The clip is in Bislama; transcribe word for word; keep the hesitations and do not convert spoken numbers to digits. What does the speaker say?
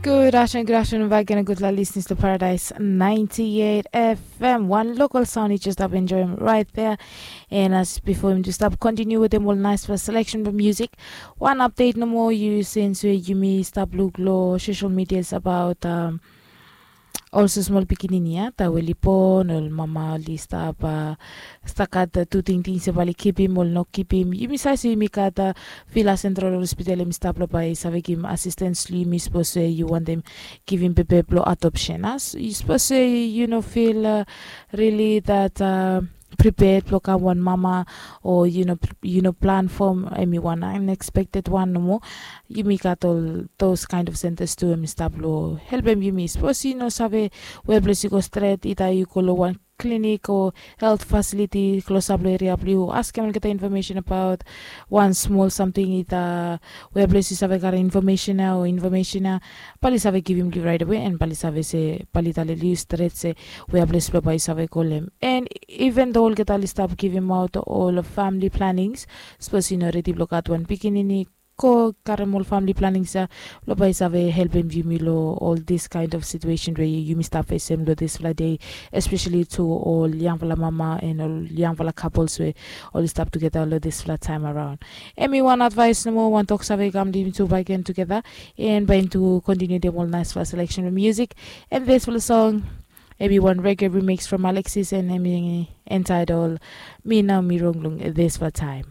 Good afternoon, good afternoon back again. Good luck listening to Paradise ninety-eight F M. One local sound you just have enjoying right there. And as before him just stop continue with them all nice for selection for music. One update no more you since we you me stop look low social medias about um also small pikinini ya ta we lipon ol mama oli stap uh, stakat tu tingting se bali kipim ol no kipim yumi sasi yumi kata Vila Central Hospital em stap lo bai save givim assistance lo yumi suppose you want them givim pepe blo adoption as you suppose you know feel uh, really that uh, prepared blo kam wan mama or you know you know plan for em wan unexpected one no more yumi gat all those kind of centers tu em stap lo helpem yumi suppose you know save where place you go straight ita you go lo one clinic o health facility klosap long eria blong yu askem olgeta information abaot wan smol samting ita weples yu save karim information ya o information ya bali save givim li right away and bali save se bali talili yu stret se weples blong bai yu save kolem and even though olgeta li stap givim aot ol family plannings sapos yu no redi blong gat wan pikinini go karim ol famili planings ya lo bai save helpim yumi lo ol dis kind of situation we yumi stap fesem lo dispela dei especially to ol yangpela mama and ol yangpela couples we oli stap togeta lo dispela taim araun. Em i wan advais nomo wan tok save kam yumi tu baken togeta and bai yumi tu kontinu dem ol naispela selection of music and dispela song. Em i wan reggae remix from Alexis and em i entitled Mi Nau Mi Rong long dispela taim.